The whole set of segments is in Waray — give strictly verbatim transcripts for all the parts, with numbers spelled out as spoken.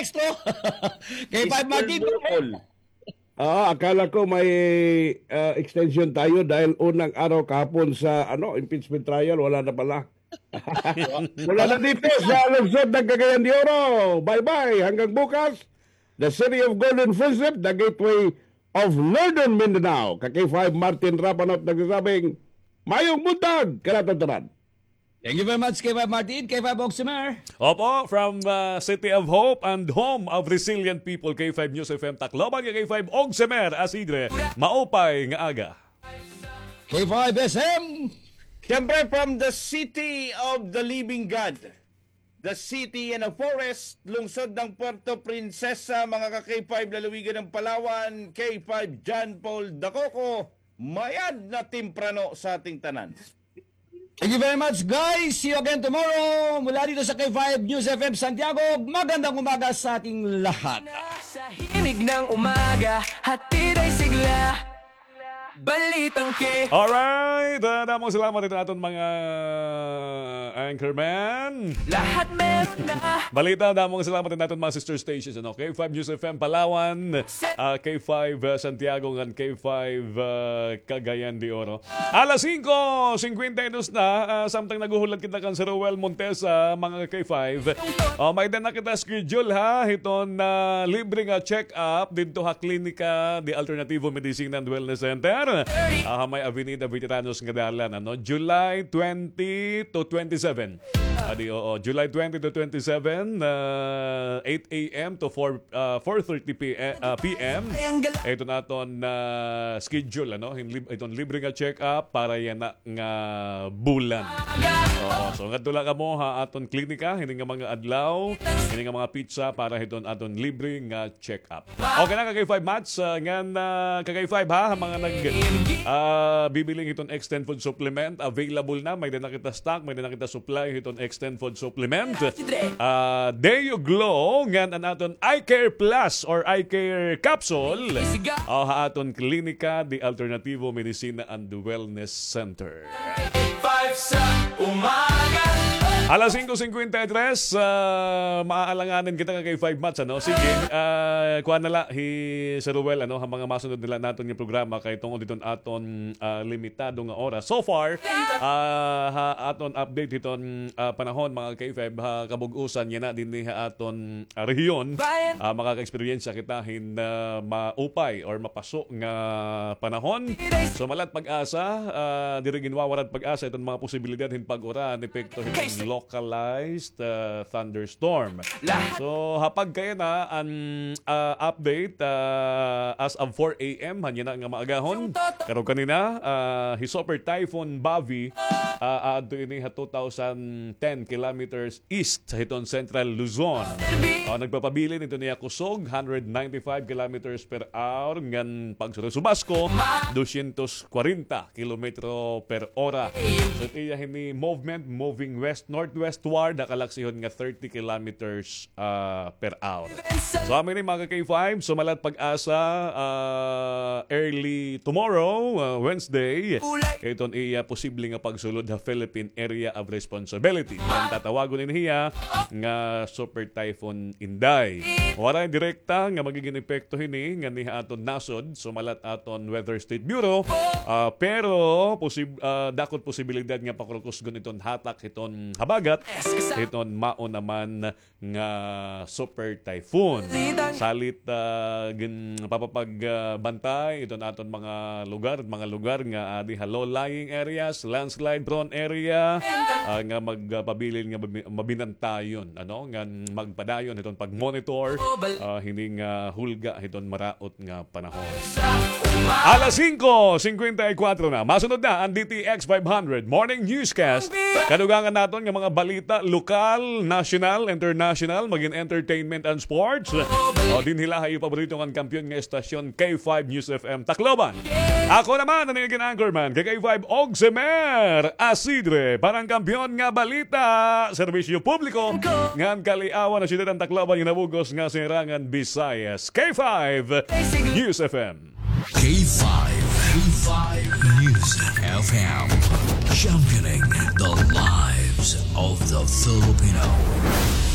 Maestro. K five Martin. Double. Ah, akala ko may, ah, extension tayo dahil unang araw kahapon sa, ano, impeachment trial, wala na pala. Wala na dito sa lungsod ng Cagayan de Oro. Bye-bye. Hanggang bukas. The City of Golden Friendship, the gateway of Northern Mindanao. Ka K five Martin Rapanot nagsasabing, mayong buntag, kanaton tanan. Thank you very much, K five Martin, K five Oximer. Opo, from, uh, City of Hope and home of resilient people, K five News F M Tacloban, K five Oximer Asidre, maupay nga aga. K five S M. Siyempre, from the city of the living God, the city and a forest, lungsod ng Puerto Princesa, mga ka K five lalawigan ng Palawan, K five John Paul Dacoco, mayad na temprano sa ating tanan. Thank you very much, guys. See you again tomorrow. Mula dito sa K five News F M Santiago, magandang umaga sa ating lahat. Sa himig ng umaga, hatid ay sigla. Balitang K. Alright, ah, damo nga salamat hiton aton mga anchorman. Lahat meron na. Balita, damo nga salamat hiton aton mga sister stations, ano? K five News F M Palawan, ah, K five, ah, Santiago, ngan K five, ah, Cagayan de Oro. Alas singko singkwenta y dos na, ah, samtang naghuhulat kita kan Sir Roel Montesa, mga K five. Oh, may-ada na kita schedule, ha, hiton, ah, libre nga check-up didto ha Klinika de Alternativo Medicina and Wellness Center. Ah, ha may Avenida Veteranos nga dalan, ano, July twenty to twenty-seven. Adi, oo, July twenty to twenty-seven, ah, eight a m to four, ah, four thirty p m, ah, p m. Ito na aton, ah, schedule, ano, hin-, lib-, iton libre nga check-up para yana nga bulan. Oo, so ngadto la kamo ha aton klinika hini nga mga adlaw, hini nga mga petsa para hiton aton libre nga check-up. Okay na, ka K five Mats, ah, ngan, ah, ka K five ha, ha mga nag, ah, bibiling hiton Extend Food Supplement, available na, may-ada na kita stock, may-ada na kita supply hiton Extend Food Supplement. Ah, Deo Glow, ngan an aton Eye Care Plus or Eye Care Capsule. Oh, ha aton Klinika de Alternativo Medicina and Wellness Center. Five sa umaga. Alas singko singkwenta y tres, ah, maaalanganin kita, ka K five Mats, ano? Sige, ah, kuan na la hi Sir Ruel, ano, ha mga masunod na la naton nga programa kay tungod hiton aton, ah, limitado nga oras. So far, ah, ha aton update hiton, ah, panahon, mga K five, ha kabug-usan yana dinhi ha aton, ah, rehiyon, ah, makaka-eksperyensya kita hin, ah, maupay or mapaso nga panahon. So, malat pag-asa, ah, diri ginwawarad pag-asa iton mga posibilidad hin pag-uran, epekto hiton localized, ah, thunderstorm. So, ha pagkayana, an, ah, update, ah, as of four a m, han yana nga maagahon. Karuyag kanina, ah, hi Super Typhoon Bavi, ah, aadto ini ha two thousand ten kilometers east hiton Central Luzon. O, nagpapabilin hiton iya kusog, hundred ninety-five kilometers per hour, ngan pagsulod subasko, dosyentos kwarenta kilometro per ora. So, iya hini movement, moving west-northwestward, ha kalaksihon nga thirty kilometers, ah, per hour. So, amo ini, mga ka K five, so malat pag-asa, ah, early tomorrow, ah, Wednesday, kay iton iya posible nga pagsulod ha Philippine Area of Responsibility. An tatawagon ini hiya nga Super Typhoon Inday. Waray direkta nga magigin epekto hini nganhi ha aton nasod, so malat aton Weather State Bureau, ah, pero posib-, ah, dako it posibilidad nga pakurkusgon iton hatak hiton habagat, hiton mao naman nga super typhoon. Salit, ah, gin-, papapag-, ah, bantay iton aton mga lugar, mga lugar nga adi ha low-lying areas, landslide prone area, ah, nga magpabilin nga mabi-, mabinantayon, ano, ngan magpadayon hiton pag-monitor, ah, hini nga hulga hiton maraot nga panahon. Alas singko singkwenta y kuwatro na. Masunod na an D T X five hundred Morning Newscast. Kadugangan naton nga mga balita, lokal, national, international, magin entertainment and sports. O, dinhi la ha iyo paborito ngan kampiyon nga estasyon, K five News F M Tacloban. Ako naman an iyo nagin anchorman, K five Oximer Asidre, para han kampiyon nga balita, serbisyo publiko, ngan kaliawan ha syudad han Tacloban, kinabuhi nga sirangan Bisaya. K five News F M. K five, K five News F M, championing the lives of the Filipino.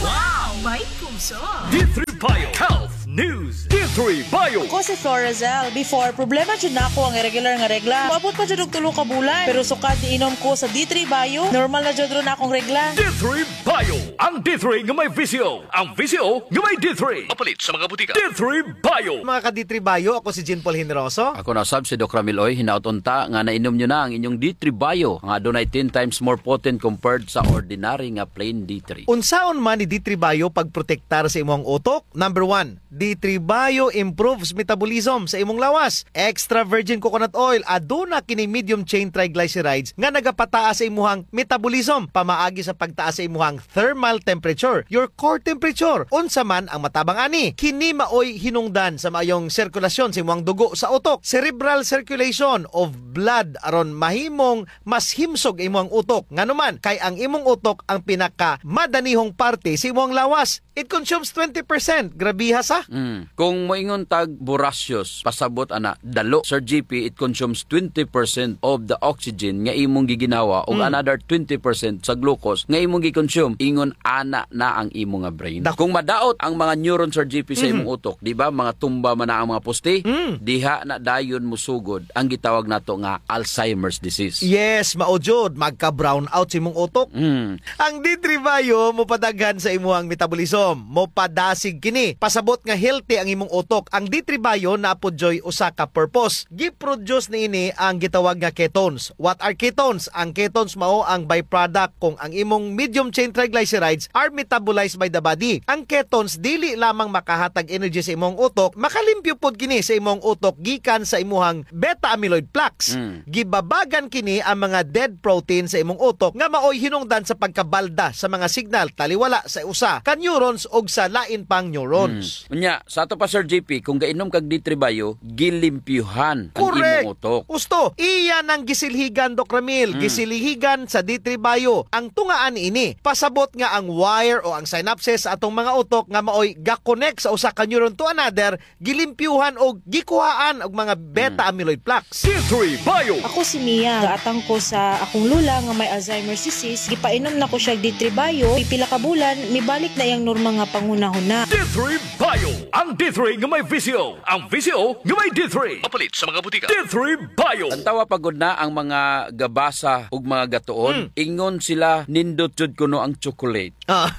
Wow! May puso. D three Bio Health News. D three Bio. Ako si Florazel. Before, problema jud nako ang irregular nga regla. Moabot pa jud og tulo ka bulan. Pero sukad niinom ko sa D three Bio, normal na jud ron akong regla. D three Bio. Ang D three nga may V C O. Ang V C O nga may D three. Mapalit sa mga butika. D three Bio. Mga ka-D three Bio, ako si Jean Paul Generoso. Ako na sab si Doc Ramil Oy. Hinaot unta nga nainom nyo na ang inyong D three Bio, nga adunay ten times more potent compared sa ordinary nga plain D three. Unsaon man ni D three Bio pagprotektar sa imong utok? Number one, D three Bio improves metabolism sa imong lawas. Extra virgin coconut oil, aduna kini medium chain triglycerides nga nagapataas sa imuhang metabolism pamaagi sa pagtaas sa imuhang thermal temperature, your core temperature. Unsa man ang matabang ani? Kini maoy hinungdan sa maayong sirkulasyon sa imuhang dugo sa utok, cerebral circulation of blood, aron mahimong mas himsog imuhang utok. Ngano man? Kay ang imong utok ang pinakamadanihong parte sa imuhang lawas. It consumes twenty percent. Grabiha sa. Mm. Kung moingon tag voracious, pasabot ana, dalo. Sir G P, it consumes twenty percent of the oxygen nga imong giginhawa ug Mm. another twenty percent sa glucose nga imong gi-consume. Ingon ana na ang imo nga brain. Dak- Kung madaot ang mga neuron, Sir G P, sa Mhm. imong utok, di ba? Mga tumba man na ang mga poste, Mm. diha na dayon musugod ang gitawag nato nga Alzheimer's disease. Yes, mao jud, magka-brown out sa imong utok. Mm. Ang D three Bio mopadaghan sa imuhang metabolism. Mopadasig kini. Pasabot nga healthy ang imong utok. Ang D three Bio naa pod dyoy usa ka purpose. Gi-produce niini ang gitawag nga ketones. What are ketones? Ang ketones mao ang byproduct kung ang imong medium chain triglycerides are metabolized by the body. Ang ketones dili lamang makahatag energy sa imong utok, makalimpyo pod kini sa imong utok gikan sa imuhang beta amyloid plaques. Mm. Gibabagan kini ang mga dead protein sa imong utok nga maoy hinungdan sa pagkabalda sa mga signal taliwala sa usa ka neurons ug sa lain pang neurons. Mm. Unya, sa ato pa, Sir G P, kung gainom kag D three Bio, gilimpyuhan ang Correct. imong utok. Husto, iya nang gisilhigan, Doc Ramil. Mm. Gisilhigan sa D three Bio ang tungaan niini. Pasabot nga ang wire o ang synapses sa atong mga utok nga maoy ga-connect sa usa ka neuron to another, gilimpyuhan o gikuhaan og mga beta Mm. amyloid plaques. D three Bio. Ako si Mia. Gaatang ko sa akong lola nga may Alzheimer's disease. Gipainom na ko siya D three Bio. Pipila ka bulan, mibalik na iyang normal nga panghunahuna. D three Bio. Ang D three nga may V C O. Ang V C O nga may D three. Mapalit sa mga butika. D three Bio. Tan-awa pa gud na ang mga gabasa ug mga gatuon. Mm. Ingon sila, nindot jud kuno ang chocolate. Ah.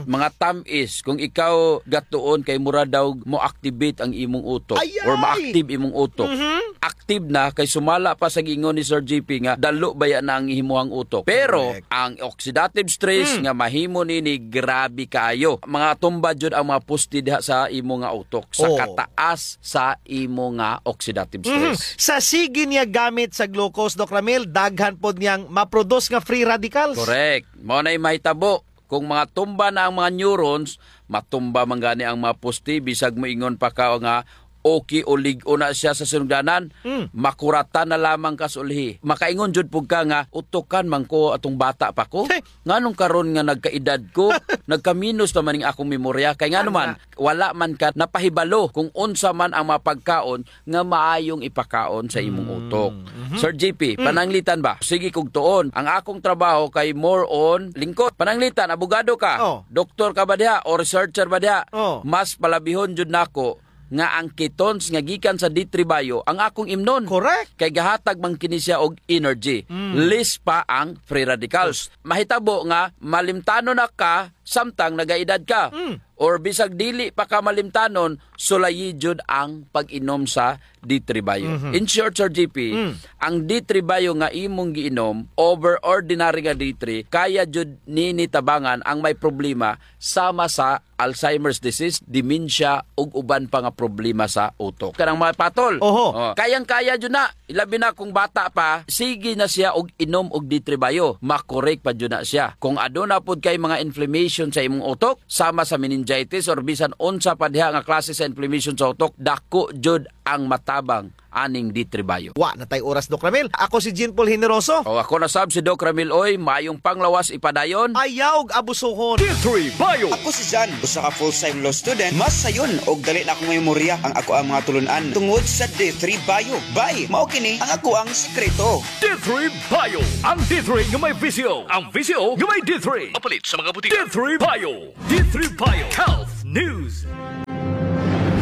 Mga tam-is, kung ikaw gatuon kay mura daw mo-activate ang imong utok Ay, or ay! ma-active imong utok. Mhm. Active na kay sumala pa sa giingon ni Sir G P nga dalo baya na ang imuhang utok. Pero Correct. ang oxidative stress Hmm. nga mahimo nini grabe kaayo. Mga tumba jud ang mga poste diha sa imo nga utok sa Oo. kataas sa imo nga oxidative Mhm. stress. Sa sige niya gamit sa glucose, Doc Ramil, daghan pod niyang ma-produce nga free radicals. Correct. Mao na'y mahitabo. Kung mga tumba na ang mga neurons, matumba man gani ang mga poste, bisag moingon pa ka nga okay o lig-on na siya sa sinugdanan, Mm. makuratan na lamang ka sa ulhi. Makaingon jud pud ka nga, "Utukan man ko atong bata pa ko. Hey! Nganong karon nga nagkaedad ko, nagkaminos naman ning akong memorya." Kay ngano man, Tama. wala man ka napahibalo kung unsa man ang mga pagkaon nga maayong ipakaon sa imong Mm. utok. Mhm. Sir G P, Mm. pananglitan ba? Sige kog tuon. Ang akong trabaho kay more on lingkod. Pananglitan, abogado ka? Oh. Doktor ka ba diha? O researcher ba diha? Oh. Mas palabihon jud nako nga ang ketones nga gikan sa D three Bio ang akong imnon. Correct. Kay gahatag man kini siya og energy. Mm. Less pa ang free radicals. Mahitabo nga malimtanon na ka samtang nagaedad ka. Mm. Or bisag dili pa ka malimtanon, sulayi jud ang pag-inom sa D three Bio. Mhm. In short, Sir G P, Mm. ang D three Bio nga imong giinom, over ordinary nga D three, kaya jud nini tabangan ang may problema sama sa Alzheimer's disease, dementia, ug uban pa nga problema sa utok. Kanang mga patol. Oho. Oh, kayang-kaya jud na. Ilabi na kung bata pa, sige na siya og inom og D three Bio. Makorek pa jud na siya. Kung aduna pod kay mga inflammation sa imong utok, sama sa meningitis or bisan unsa pa diha nga klase sa inflammation sa utok, dako jud ang matabang aning D three Bio. Wa na tay oras, Doc Ramil. Ako si Jean Paul Generoso. O, ako na sab si Doc Ramil Uy. Maayong panglawas ipadayon. Ayaw og abusohon. D three Bio. Ako si Jan, usa ka full-time law student. Mas sayon og dali na akong memorya ang akoang mga tulun-an tungod sa D three Bio. Bay, mao kini ang akoang sikreto. D three Bio. Ang D three nga may V C O. Ang V C O nga may D three. Mapalit sa mga butika. D three Bio. D three Bio Health News.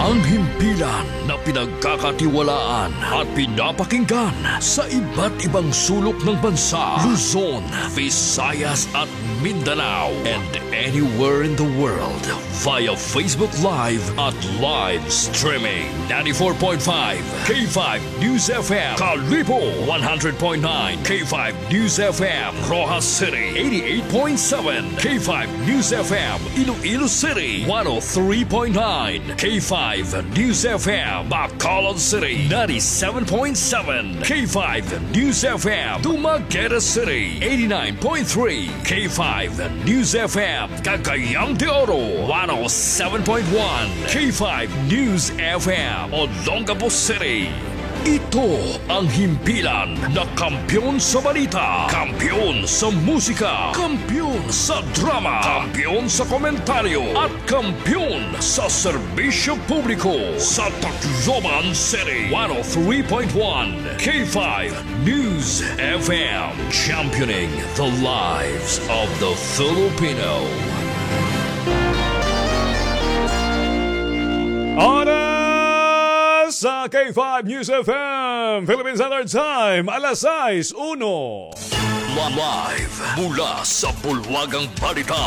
Ang himpilan na pinagkakatiwalaan at pinapakinggan sa iba't ibang sulok ng bansa, Luzon, Visayas at Mindanao, and anywhere in the world via Facebook Live at live streaming. Ninety-four point five K five News F M, Kalibo, one hundred point nine K five News F M, Roxas City, eighty-eight point seven K five News F M, Iloilo City, one oh three point nine K five News F M, Bacolod City, ninety-seven point seven K five News F M, Dumaguete City, eighty-nine point three K five News F M, Cagayan de Oro, one oh seven point one K five News F M, Olongapo City. Ito ang himpilan na kampiyon sa balita, kampiyon sa musika, kampiyon sa drama, kampiyon sa komentaryo, at kampiyon sa serbisyo publiko sa Tacloban City. One oh three point one K five News F M, championing the lives of the Filipino. Oras sa K five News F M, Philippine Standard Time, alas sais uno. Live mula sa bulwagang balita,